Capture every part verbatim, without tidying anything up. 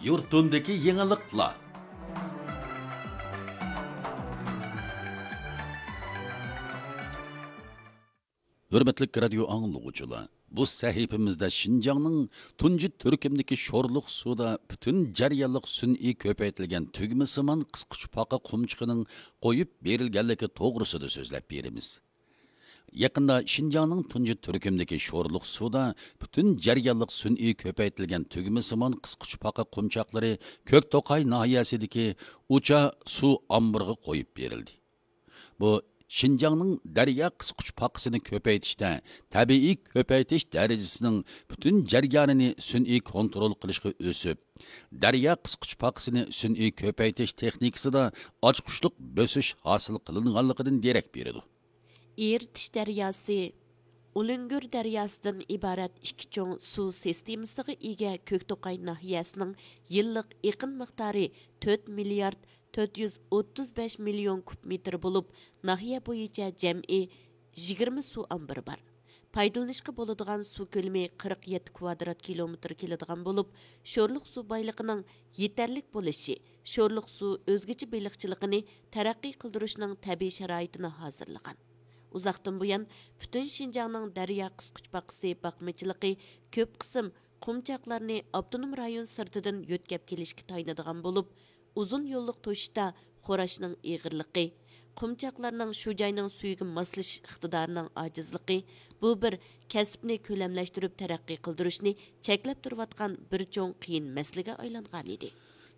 يۇرتۇمدىكى يېڭىلىقلار. ھۆرمەتلىك رادىيو ئاڭلىغۇچىلار، بۇ سەھىپىمىزدە شىنجاڭنىڭ تۇنجى تۈركۈمدىكى شورلۇق سۇدا پۈتۈن جەريانلىق سۈنئىي كۆپەيتىلگەن تۈگمىسىمان قىسقۇچپاقا قۇمچىقىنىڭ قويۇپ بېرىلگەنلىكى توغرىسىدا سۆزلەپ بېرىمىز. يېقىندا شىنجاڭنىڭ تۇنجى تۈركۈمدىكى شورلۇق سۇدا پۈتۈن جەريانلىق سۈنئىي كۆپەيتىلگەن تۈگمىسىمان قىسقۇچپاقا قۇمچاقلىرى كۆكتوقاي ناھىيەسىدىكى ئۇچا سۇ ئامبىرىغا قويۇپ بېرىلدى. بۇ شىنجاڭنىڭ دەريا قىسقۇچپاقىسىنى كۆپەيتىشتە تەبىئىي كۆپەيتىش دەرىجىسىنىڭ پۈتۈن جەريانىنى سۈنئىي كونترول قىلىشقا ئۆسۈپ، دەريا قىسقۇچپاقىسىنى سۈنئىي كۆپەيتىش تېخنىكىسىدا ئاچقۇچلۇق بۆسۈش ھاسىل قىلىنغانلىقىدىن دېرەك بېرىدۇ. ئېرتىش دەرياسى، ئۇلۇنگۈر دەرياسىدىن ئىبارەت ئىككى چوڭ سۇ سىستېمىسىغا ئىگە كۆكتوقاي ناھىيەسىنىڭ يىللىق ئېقىن مىقدارى تۆت مىليارد تۆت يۈز ئوتتۇز بەش مىليون كۇب مېتىر بولۇپ، ناھىيە بويىچە جەمئىي يىگىرمە سۇ ئامبىرى بار. پايدىلىنىشقا بولىدىغان سۇ كۆلىمى قىرىق يەتتە كۋادرات كىلومېتىر كېلىدىغان بولۇپ، شورلۇق سۇ بايلىقىنىڭ يېتەرلىك بولۇشى شورلۇق سۇ ئۆزگىچە بېلىقچىلىقىنى تەرەققىي قىلدۇرۇشنىڭ تەبىئىي شارائىتىنى ھازىرلىغان. ئۇزاقتىن بۇيان پۈتۈن شىنجاڭنىڭ دەريا قىسقۇچپاقىسى باقمىچىلىقى كۆپ قىسىم قۇمچاقلارنى ئاپتونوم رايون سىرتىدىن يۆتكەپ كېلىشكە تايىنىدىغان بولۇپ، ئۇزۇن يوللۇق توشۇشتا خوراشنىڭ ئېغىرلىقى، قۇمچاقلارنىڭ شۇ جاينىڭ سۈيىگە ماسلىشىش ئىقتىدارىنىڭ ئاجىزلىقى، بۇ بىر كەسىپنى كۆلەملەشتۈرۈپ تەرەققىي قىلدۇرۇشنى چەكلەپ تۇرۇۋاتقان بىر چوڭ قىيىن مەسىلىگە ئايلانغانىدى.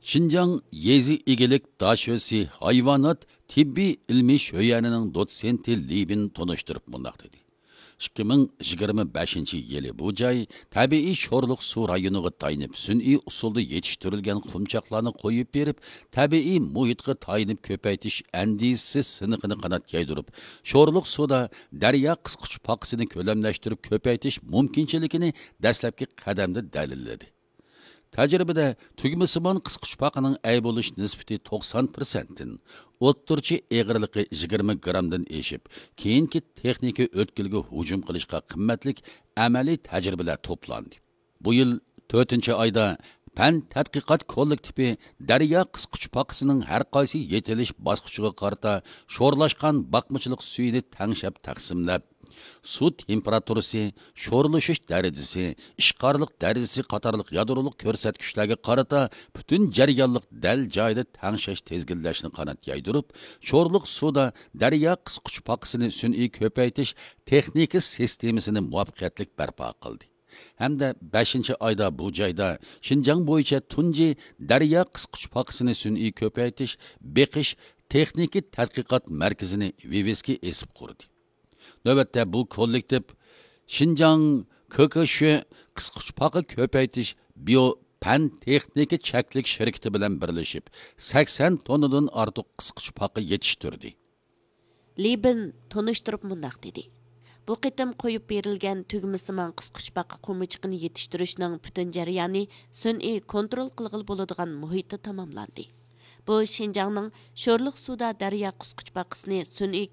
شىنجاڭ يېزا ئىگىلىك داشۆسى ھايۋانات تېببىي ئىلمىي شۆيەنىنىڭ دوتسېنتى لىبىن تونۇشتۇرۇپ مۇنداق دېدى: ئىككى مىڭ يىگىرمە بەشىنچى يىلى بۇ جاي تەبىئىي شورلۇق سۇ رايونىغا تايىنىپ سۈنئىي ئۇسۇلدا يېتىشتۈرۈلگەن قۇمچاقلارنى قويۇپ بېرىپ، تەبىئىي مۇھىتقا تايىنىپ كۆپەيتىش ئەندىزىسى سىنىقىنى قانات يايدۇرۇپ، شورلۇق سۇدا دەريا قىسقۇچپاقىسىنى كۆلەملەشتۈرۈپ كۆپەيتىش مۇمكىنچىلىكىنى دەسلەپكى قەدەمدە دەلىللىدى. تەجرىبىدە تۈگمىسىمان قىسقۇچپاقىنىڭ ئەي بولۇش نىسبىتى توقسان پىرسەنتتىن، ئوتتۇرىچە ئېغىرلىقى يىگىرمە گرامدىن ئېشىپ، كېيىنكى تېخنىكا ئۆتكىلىگە ھۇجۇم قىلىشقا قىممەتلىك ئەمەلىي تەجرىبىلەر توپلاندى. بۇ يىل تۆتىنچى ئايدا پەن تەتقىقات كوللېكتىپى دەريا قىسقۇچپاقىسىنىڭ ھەر قايسى يېتىلىش باسقۇچىغا قارىتا شورلاشقان باقمىچىلىق سۈيىنى تەڭشەپ تەقسىملەپ، سۇ تېمپېراتۇرىسى، شورلىشىش دەرىجىسى، ئىشقارلىق دەرىجىسى قاتارلىق يادرولۇق كۆرسەتكۈچلەرگە قارىتا پۈتۈن جەريانلىق دەل جايىدا تەڭشەش تىزگىنلەشنى قانات يايدۇرۇپ، شورلۇق سۇدا دەريا قىسقۇچپاقىسىنى سۈنئىي كۆپەيتىش تېخنىكا سىستېمىسىنى مۇۋەپپەقىيەتلىك بەرپا قىلدى. ھەمدە بەشىنچى ئايدا بۇ جايدا شىنجاڭ بويىچە تۇنجى دەريا قىسقۇچپاقىسىنى سۈنئىي كۆپەيتىش، بېقىش تېخنىكا تەتقىقات مەركىزىنى ۋىۋىسكا ئېسىپ قۇردى. نۆۋەتتە بۇ كوللېكتىپ شىنجاڭ ك ك ش قىسقۇچپاقا كۆپەيتىش بىيو پەن تېخنىكا چەكلىك شىركىتى بىلەن بىرلىشىپ، سەكسەن توننىدىن ئارتۇق قىسقۇچپاقا يېتىشتۈردى. لىبىن تونۇشتۇرۇپ مۇنداق دېدى: بۇ قېتىم قويۇپ بېرىلگەن تۈگمىسىمان قىسقۇچپاقا قۇمىچىقىنى يېتىشتۈرۈشنىڭ پۈتۈن جەريانى سۈنئىي كونترول قىلغىلى بولىدىغان مۇھىتتا تاماملاندى. بۇ شىنجاڭنىڭ شورلۇق سۇدا دەريا قىسقۇچپاقىسىنى سۈنئىي